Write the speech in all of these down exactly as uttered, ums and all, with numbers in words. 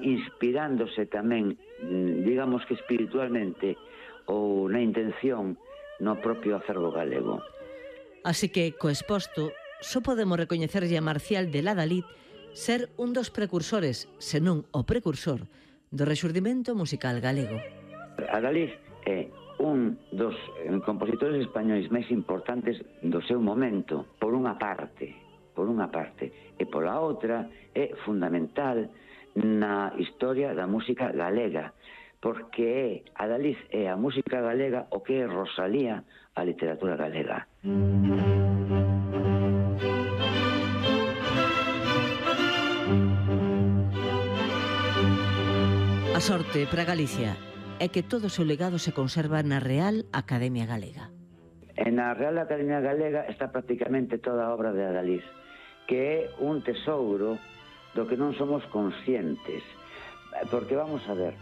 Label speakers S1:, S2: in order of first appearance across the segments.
S1: inspirándose tamén, digamos que espiritualmente, ou na intención no propio acervo galego.
S2: Así que, co exposto, só podemos recoñecerlle a Marcial de Ladalid ser un dos precursores, senón o precursor, do rexurdimento musical galego.
S1: Adalid é un dos compositores españois máis importantes do seu momento, por unha parte, por unha parte, e pola outra é fundamental na historia da música galega, porque é Adalid é a música galega o que é Rosalía a literatura galega.
S2: A sorte para Galicia é que todo o seu legado se conserva na Real Academia Galega.
S1: E na Real Academia Galega está prácticamente toda a obra de Adalid, que é un tesouro do que non somos conscientes. Porque vamos a ver,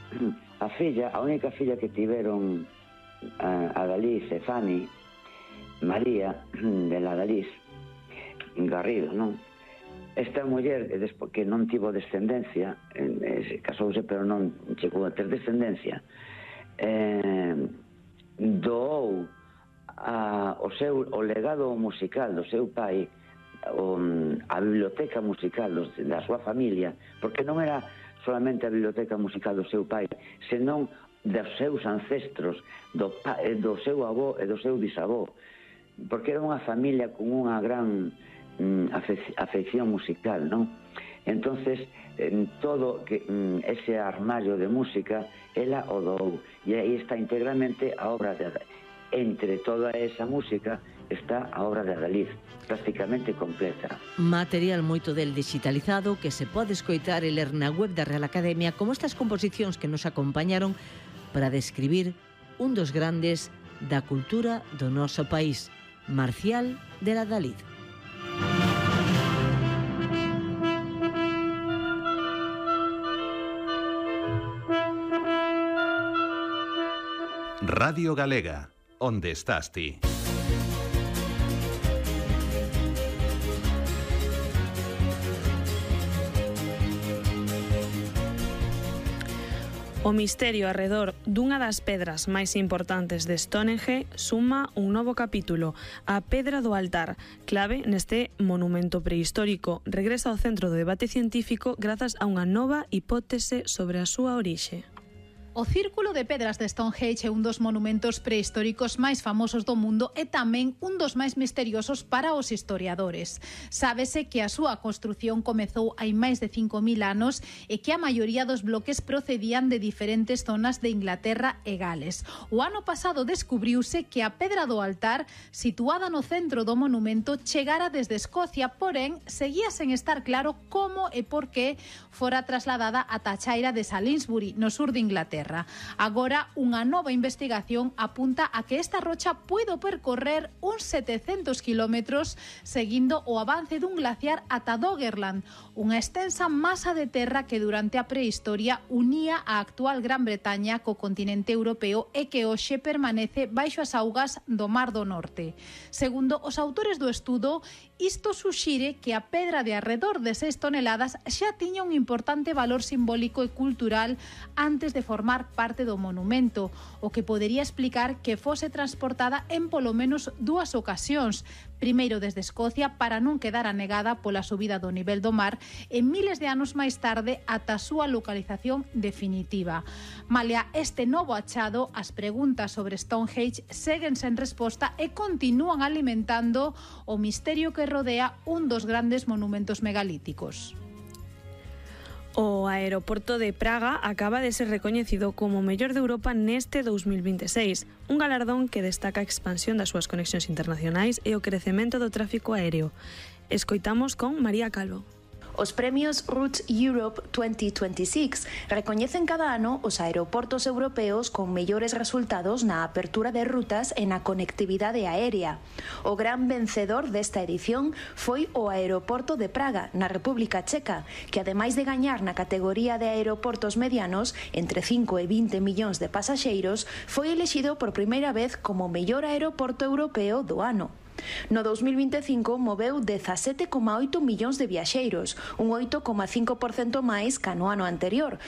S1: a filla, a única filla que tiveron Adalid e Fanny, María de Adalid Garrido, non? Esta muller, que non tivo descendencia, eh, casouse pero non chegou a ter descendencia, eh, doou a, o seu o legado musical do seu pai, o, a biblioteca musical dos, da súa familia, porque non era solamente a biblioteca musical do seu pai, senón dos seus ancestros, do, do seu avó e do seu bisavó, porque era unha familia con unha gran afección musical, non? Entonces, en todo que, ese armario de música ela o dou, e aí está integralmente a obra de Adalid. Entre toda esa música está a obra de Adalid, prácticamente completa.
S2: Material moito del digitalizado que se pode escoitar e ler na web da Real Academia, como estas composicións que nos acompañaron para describir un dos grandes da cultura do noso país, Marcial de Ladalid.
S3: Radio Galega, onde estás ti?
S4: O misterio arredor dunha das pedras máis importantes de Stonehenge suma un novo capítulo, a Pedra do Altar, clave neste monumento prehistórico. Regresa ao centro do debate científico grazas a unha nova hipótese sobre a súa orixe.
S5: O Círculo de Pedras de Stonehenge é un dos monumentos prehistóricos máis famosos do mundo e tamén un dos máis misteriosos para os historiadores. Sábese que a súa construción comezou hai máis de cinco mil anos e que a maioría dos bloques procedían de diferentes zonas de Inglaterra e Gales. O ano pasado descubriuse que a Pedra do Altar, situada no centro do monumento, chegara desde Escocia, porén, seguía sen estar claro como e por que fora trasladada ata a chaira de Salisbury, no sur de Inglaterra. Agora, unha nova investigación apunta a que esta rocha puido percorrer uns setecentos kilómetros seguindo o avance dun glaciar ata Doggerland, unha extensa masa de terra que durante a prehistoria unía a actual Gran Bretaña co continente europeo e que hoxe permanece baixo as augas do Mar do Norte. Segundo os autores do estudo, isto suxire que a pedra de arredor de seis toneladas xa tiña un importante valor simbólico e cultural antes de formar parte do monumento, o que podería explicar que fose transportada en polo menos dúas ocasións, primeiro desde Escocia para non quedar anegada pola subida do nivel do mar e miles de anos máis tarde ata a súa localización definitiva. Malia este novo achado, as preguntas sobre Stonehenge seguen sen resposta e continúan alimentando o misterio que rodea un dos grandes monumentos megalíticos.
S4: O aeroporto de Praga acaba de ser recoñecido como o mellor de Europa neste dous mil vinte e seis, un galardón que destaca a expansión das súas conexións internacionais e o crecemento do tráfico aéreo. Escoitamos con María Calvo.
S6: Os premios Routes Europe twenty twenty-six recoñecen cada ano os aeroportos europeos con mellores resultados na apertura de rutas e na conectividade aérea. O gran vencedor desta edición foi o aeroporto de Praga, na República Checa, que ademais de gañar na categoría de aeroportos medianos, entre cinco e vinte millóns de pasaxeiros, foi elexido por primeira vez como mellor aeroporto europeo do ano. No dous mil vinte e cinco moveu dezasete coma oito millóns de viaxeiros, un oito coma cinco por cento máis ca no ano anterior,